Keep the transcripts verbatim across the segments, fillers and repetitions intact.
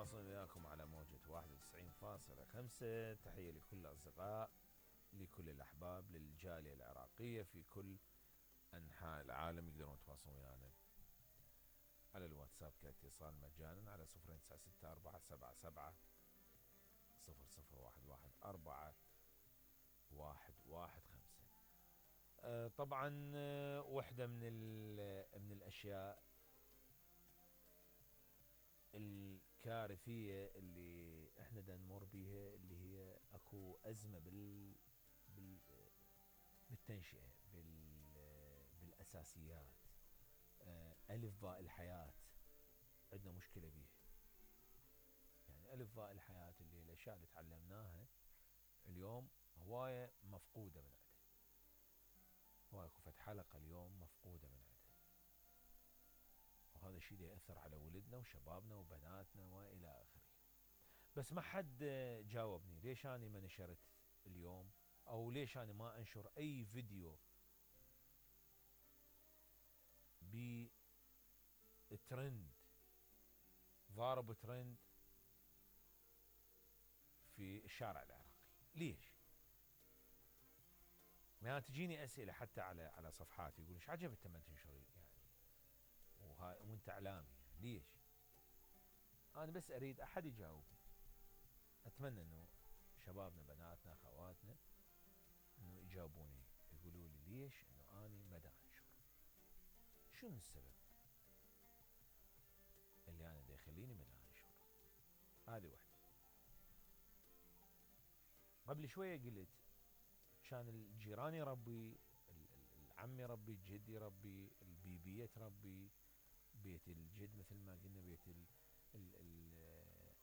نتواصل وياكم على موجة واحد وتسعين فاصلة خمسة. تحية لكل الأصدقاء، لكل الأحباب، للجالية العراقية في كل أنحاء العالم. يقدرون يتواصلون ويانا على الواتساب كاتصال مجانا على صفر تسعة ستة أربعة سبعة سبعة صفر صفر واحد واحد أربعة واحد واحد خمسة. أه طبعا أه وحدة من من الأشياء الكارثية اللي احنا دا نمر بيها اللي هي اكو أزمة بال, بال... بالتنشئة بال... بالأساسيات. أه ألف باء الحياة عندنا مشكلة بيها. يعني ألف باء الحياة اللي الأشياء اللي تعلمناها اليوم هواية مفقودة من عندها. هواية كفت حلقة اليوم مفقودة من عندها، وهذا الشيء يأثر على ولدنا وشبابنا وبناتنا وإلى آخره. بس ما حد جاوبني ليش أنا ما نشرت اليوم، أو ليش أنا ما أنشر أي فيديو بترند ضارب ترند في الشارع العراقي. ليش؟ ما تجيني أسئلة حتى على على صفحاتي يقول ايش عجب انت ما تنشري يعني وها وانت اعلامي يعني ليش؟ انا بس اريد احد يجاوبني. اتمنى انه شبابنا بناتنا اخواتنا انه يجاوبوني يقولوا لي ليش انه اني ما دا انشر، شنو السبب اللي انا دا يخليني ما دا انشر. هذه وحده. قبل شويه قلت كان الجيران يربي، العم يربي، الجد يربي، البيبيه تربي، بيت الجد مثل ما قلنا، بيت ال ال ال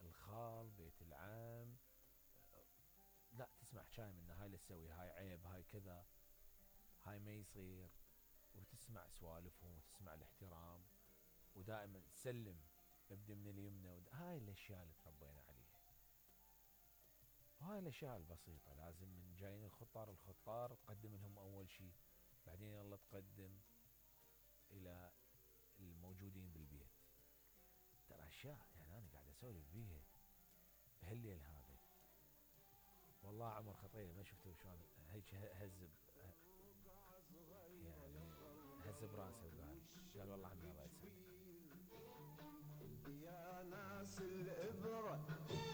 الخال، بيت العام. لا تسمع حكاية من هاي لا تسوي، هاي عيب، هاي كذا، هاي ما يصير، وتسمع سوالفهم وتسمع الاحترام، ودائما تسلم ابدي من اليمنى. هاي الاشياء اللي تربينا عليها، وهاي الاشياء البسيطة. لازم من جايين الخطار الخطار تقدم لهم اول شيء، بعدين يلا تقدم الى الموجودين بالبيت. ترى اشياء يعني انا قاعد اسولف بيها بهالليل هذا والله عمر خطيه ما شفته شلون هيك هز يعني هز براسه وقال قال والله عمي الله يسعدك. يا ناس الإبرة